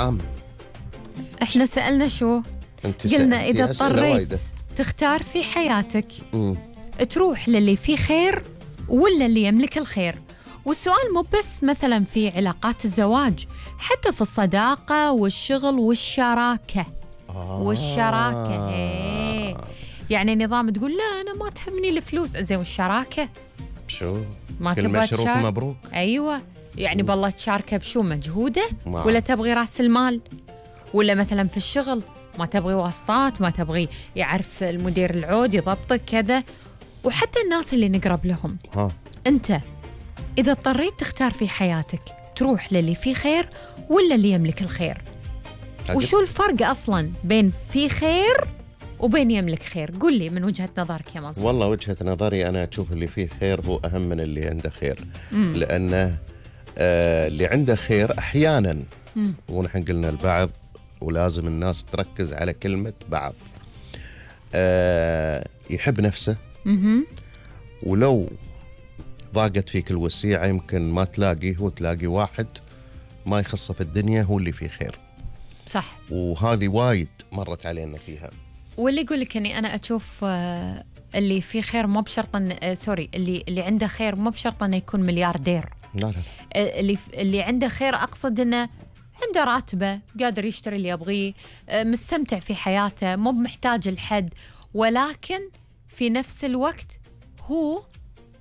عام. احنا سألنا شو؟ قلنا إذا اضطريت تختار في حياتك تروح للي فيه خير ولا اللي يملك الخير. والسؤال مو بس مثلا في علاقات الزواج، حتى في الصداقة والشغل والشراكة. والشراكة يعني نظام تقول لا أنا ما تهمني الفلوس، زين والشراكة شو؟ ما كل تبغى مشروك مبروك. أيوة يعني بالله تشاركه بشو؟ مجهودة ولا تبغي رأس المال؟ ولا مثلا في الشغل ما تبغي واسطات، ما تبغي يعرف المدير العود يضبطك كذا. وحتى الناس اللي نقرب لهم أنت إذا اضطريت تختار في حياتك تروح للي فيه خير ولا اللي يملك الخير؟ وشو الفرق أصلا بين في خير وبين يملك خير؟ قل لي من وجهة نظرك يا منصور. والله وجهة نظري أنا أشوف اللي فيه خير هو أهم من اللي عنده خير. لأنه اللي عنده خير أحيانا ونحن قلنا البعض ولازم الناس تركز على كلمة بعض، يحب نفسه ولو ضاقت فيك الوسيعة يمكن ما تلاقيه وتلاقي واحد ما يخصه في الدنيا هو اللي فيه خير. صح. وهذه وايد مرت علينا فيها. واللي يقول لك اني انا اشوف اللي فيه خير مو بشرط سوري اللي عنده خير مو بشرط انه يكون ملياردير. لا اللي عنده خير اقصد انه عنده راتبه، قادر يشتري اللي يبغيه، مستمتع في حياته، مو محتاج لحد، ولكن في نفس الوقت هو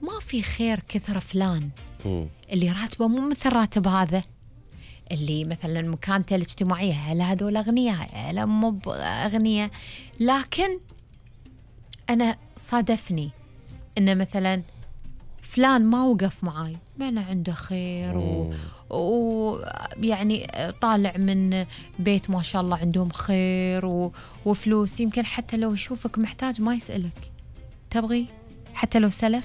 ما في خير كثر فلان اللي راتبه مو مثل راتب هذا، اللي مثلا مكانته الاجتماعية هل هذول أغنياء هل مو أغنياء. لكن أنا صادفني إن مثلا فلان ما وقف معاي ما أنا عنده خير ويعني طالع من بيت ما شاء الله عندهم خير وفلوس، يمكن حتى لو يشوفك محتاج ما يسألك تبغي، حتى لو سلف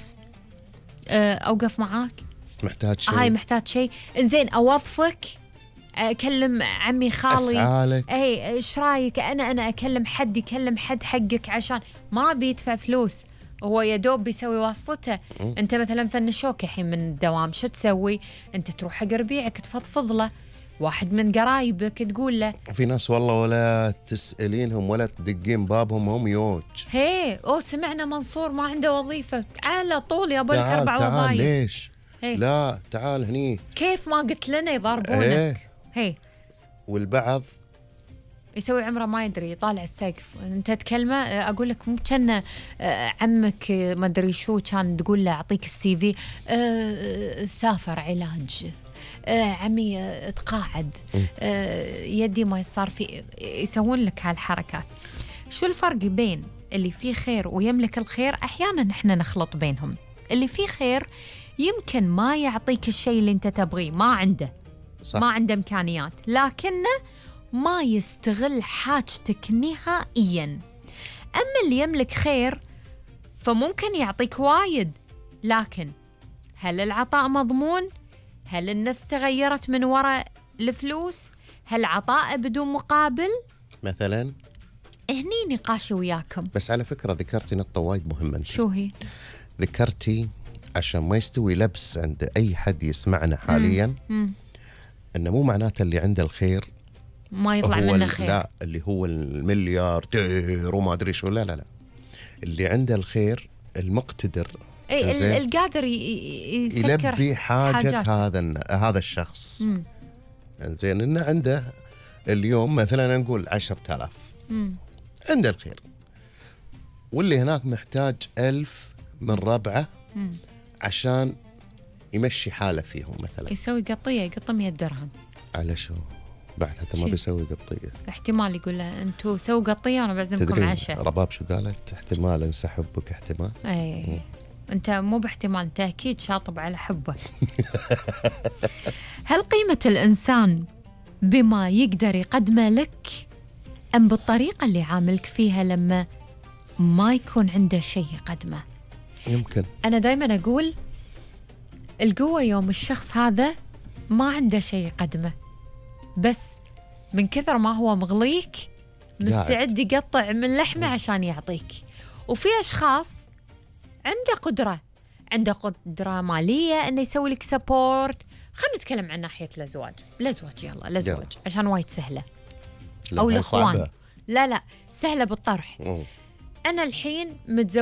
أوقف معاك محتاج شيء، هاي محتاج شيء زين أوظفك، أكلم عمي خالي أسعالك، أي إيش رايك أنا أكلم حد يكلم حد حقك عشان ما بيدفع فلوس، هو يدوب بيسوي واسطته. أنت مثلا فنشوك الحين من الدوام شو تسوي؟ أنت تروح حق ربيعك تفضفض له، واحد من قرايبك تقول له. في ناس والله ولا تسألينهم ولا تدقين بابهم هم يوج سمعنا منصور ما عنده وظيفة، على طول يا لك 4 وظايف. ليش؟ لا تعال هني، كيف ما قلت لنا يضربونك. والبعض يسوي عمره ما يدري، يطالع السقف، انت تكلمه اقول لك مو كان عمك ما ادري شو كان تقول له اعطيك السي في سافر علاج، عمي تقاعد، يدي ما يصار في، يسوون لك هالحركات. شو الفرق بين اللي فيه خير ويملك الخير؟ احيانا احنا نخلط بينهم. اللي فيه خير يمكن ما يعطيك الشيء اللي انت تبغيه، ما عنده صح. ما عنده امكانيات، لكنه ما يستغل حاجتك نهائيا. اما اللي يملك خير فممكن يعطيك وايد، لكن هل العطاء مضمون؟ هل النفس تغيرت من وراء الفلوس؟ هل عطاء بدون مقابل؟ مثلا هني نقاشي وياكم. بس على فكرة ذكرتي نقطة وايد مهمة. شو هي؟ ذكرتي عشان ما يستوي لبس عند أي حد يسمعنا حاليا أنه مو معناته اللي عنده الخير ما يطلع منه خير. لا، اللي هو الملياردير وما أدري شو، لا اللي عنده الخير المقتدر، القادر يلبي حاجة هذا الشخص. زين إنه عنده اليوم مثلا نقول 10,000 عنده الخير، واللي هناك محتاج 1000 من ربعه عشان يمشي حاله فيهم، مثلا يسوي قطية يقط 100 درهم. على شو؟ بعد حتى ما بيسوي قطية، احتمال يقول له انتوا سووا قطية وانا بعزمكم عشاء. رباب شو قالت؟ احتمال انسحب بك، احتمال. اي انت مو باحتمال، انت اكيد شاطب على حبه. هل قيمة الانسان بما يقدر يقدمه لك ام بالطريقة اللي عاملك فيها لما ما يكون عنده شيء يقدمه؟ يمكن انا دايما اقول القوة يوم الشخص هذا ما عنده شيء يقدمه، بس من كثر ما هو مغليك مستعد يقطع من لحمه عشان يعطيك. وفي أشخاص عنده قدرة مالية إنه يسوي لك سبورت، خلينا نتكلم عن ناحية الأزواج. يلا الأزواج عشان وايد سهلة. لا، أو هاي الإخوان. صعبة. لا سهلة بالطرح. أنا الحين متزوجة